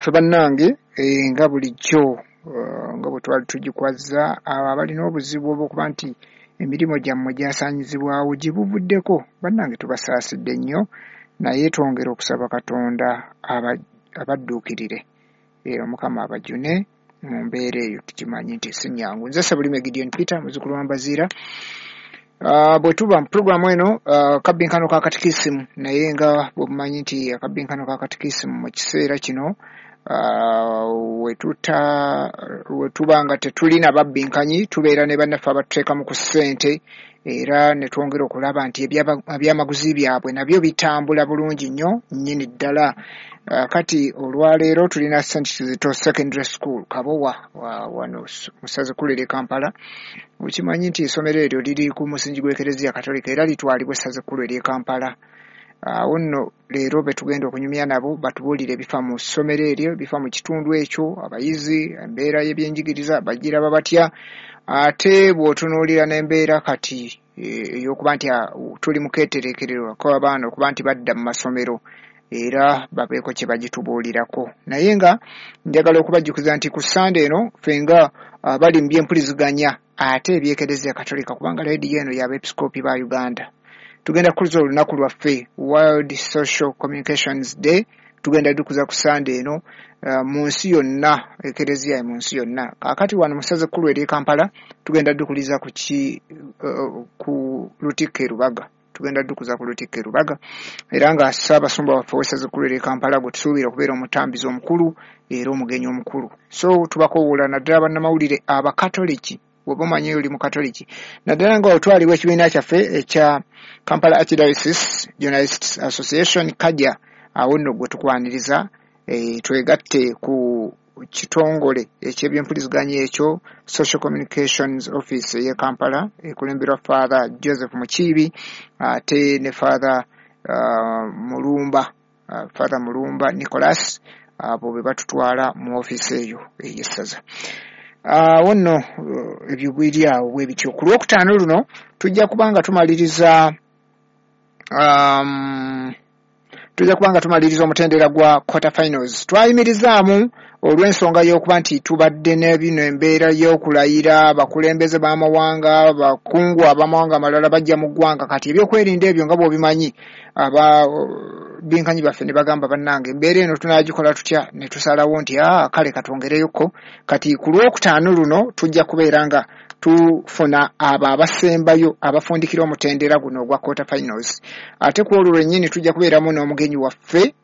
Ffe bannange nga bulijjo, nga bwe twali tugikwazza, abo abalina obuzibu obw'okuba nti emirimu gyammwe gyasaanyizibwawo gye buvuddeko, bannange tubasaasidde nnyo, naye twongera okusaba Katonda abadduukirire, Omukama abajune mu mbeera eyo. Tukimanyi nti si nnyangu. Nze Ssebulime Gideon Peter, muzzukulu wa Mbaziira. Bwe tuba mu pulogulaamu eno akabbinkano ka katikisimu, naye nga bwe mumanyi nti akabbinkano ka katikisimu mu kiseera kino we tuba nga tetulina babbinkanyi, tubeera ne bannaffe abatuteekamu ku ssente, era ne twongera okulaba nti ebyamaguzi byabwe nabyo bitambula bulungi nnyo nnyini ddala. Kati olwaleero tulina St Kizito Secondary School Kabowa wano mu ssaza ekkulu ery'e Kampala. Okimanyi nti essomero eryo liri ku musingi gw'Ekereziya Katolika era litwalibwa essaza ekkulu ery'e Kampala. Awo nno leero be tugenda okunyumya nabo batubuulire ebifa mu ssomero eryo, ebifa mu kitundu ekyo, abayizi, embeera y'ebyenjigiriza bagiraba batya, ate bw'otunuulira n'embeera kati ey'okuba nti tuli mu keetereekerero k'abaana okuba nti badda mu masomero, era babeeko kye bagitubuulirako. Naye nga njagala okubajjukiza nti ku Ssande eno ffe nga abali mu byempuliziganya ate eby'Ekereziya Katolika, kubanga leediyo eno y'Abeepiskoopi ba Uganda, tugenda kukuza olunaku lwaffe World Social Communications Day. Tugenda dukuza ku Ssande eno mu nsi yonna, Ekereziya mu nsi yonna. Kaakati wano mu ssaza ekkulu ery'e Kampala tugenda dukuliza ku Lutikko e Lubaga. Tugenda dukuza ku Lutikko e Lubaga, era nga Ssaabasumba waffe ow'essaza ekkulu ery'e Kampala gwe tusuubira okubeera omutambizi omukulu era omugenyi omukulu. So tubakoowoola naddala bannamawulire Abakatoliki, bw'oba omanyi oli Mukatoliki, naddala nga otwalibwa ekibiina kyaffe ekya Kampala Archdiocese Journalists Association KAJA, awo nno gwe tukwaniriza, twegatte ku kitongole eky'ebyempuliziganya ekyo Social Communications Office ey'e Kampala ekulemberwa Father Joseph Mukiibi ate ne Father Mulumba, Father Mulumba Nicholas, abo be batutwala mu ofiisi eyo ey'essaza. Awo nno ebyo biri awo bwe bityo. Ku Lwokutaano luno tujja kuba nga tumaliriza omutendera gwa quarter finals. Twayimirizaamu olw'ensonga y'okuba nti tubadde n'ebino embeera y'okulayira, abakulembeze b'amawanga, abakungu ab'amawanga amalala bajja mu ggwanga. Kati ebyokwerinda ebyo nga bw'obimanyi, ababinkanyi baffe ne bagamba bannange embeera eno tunaagikola tutya, ne tusalawo nti kale katwongereyoko. Kati ku Lwokutaano luno tujja kubeera nga tufuna abo abasembayo abafundikira omutendera guno ogwa quarter finals. Ate ku olwo lwennyini tujja kubeeramu n'omugenyi waffe,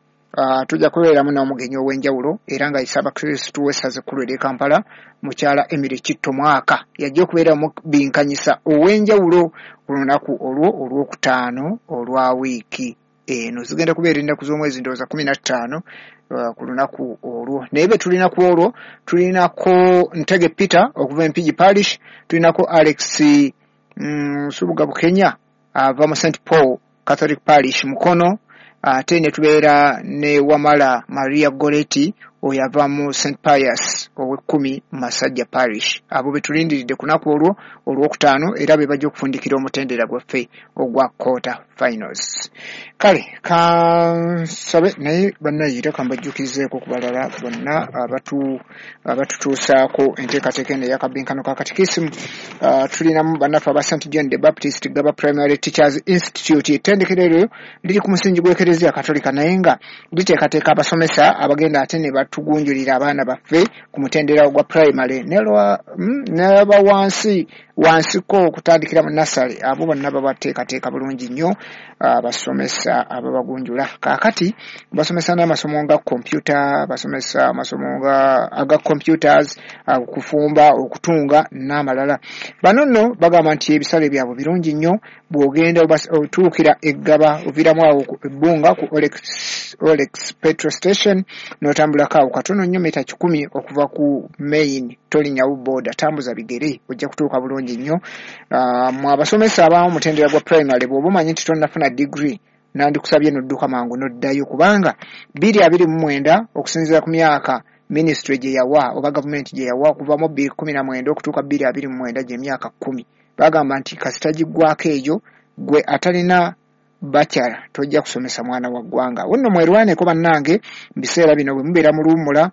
tujja kubeeramu n'omugenyi ow'enjawulo, era nga ye Ssaabakristu w'essaza ekkulu ery'e Kampala, mukyala Emily Kitto Mwaka, yajja okubeera omubinkanyisa ow'enjawulo ku lunaku olwo olwokutaano olwa wiiki eno. Zigenda kubeera ennaku z'omwezi ndowooza 15 ku lunaku olwo. Naye be tulina ku olwo, tulinako Ntege Peter okuva e Mpigi Parish, tulinako Alex Nsubuga Bukenya ava mu St Paul Catholic Parish Mukono, ate ne tubeera ne Wamala Maria Goretti oyo ava mu St Pius ow'ekkumi Masajja Parish. Abo be tulindiridde ku lunaku olwo olwokutaano, era be bajja okufundikira omutendera gwaffe ogwa quarter finals. Kale kansabe naye bannayira kambajjukizeeko ku balala bonna abatutuusaako enteekateeka eno ey'akabbinkano ka katikisimu. Tulinamu bannaffe aba St John the Baptist Gaba Primary Teachers Institute. Ettendekero eryo liri ku musingi gw'Ekereziya Katolika, naye nga liteekateeka abasomesa abagenda ate ne batugunjulira abaana baffe ku mutendera gwa primary n'aba wansi wansiko okutandikira mu nursery. Abo bonna babateekateeka bulungi nnyo abasomesa ababagunjula. Kaakati basomesa n'amasomo nga computer, basomesa amasomo nga aga computers, okufumba, okutunga n'amalala. Bano nno bagamba nti ebisale byabwe birungi nnyo. Bw'ogenda otuukira Eggaba, oviiramu awo ebbunga ku Olex petrol station, n'otambulako awo katono nnyo mita 100 okuva ku main, tolinyawo boda, tambuza bigere, ojja kutuuka bulungi nnyo. Mwe abasomesa abamu omutendera gwa primary, bw'oba omanyi nti tonnafuna degree, nandikusabye n'odduka mangu n'oddayo, kubanga 2029 okusinziira ku myaka ministry gye yawa oba gavumenti gye yawa okuva mu 2019 okutuuka 2029 gy'emyaka 10, bagamba nti kasita giggwako eyo gwe atalina Bakyala, tojja kusomesa mwana wa ggwanga. Awo nno mwerwaneko bannange mu biseera bino bwe mubeera mu luwummula.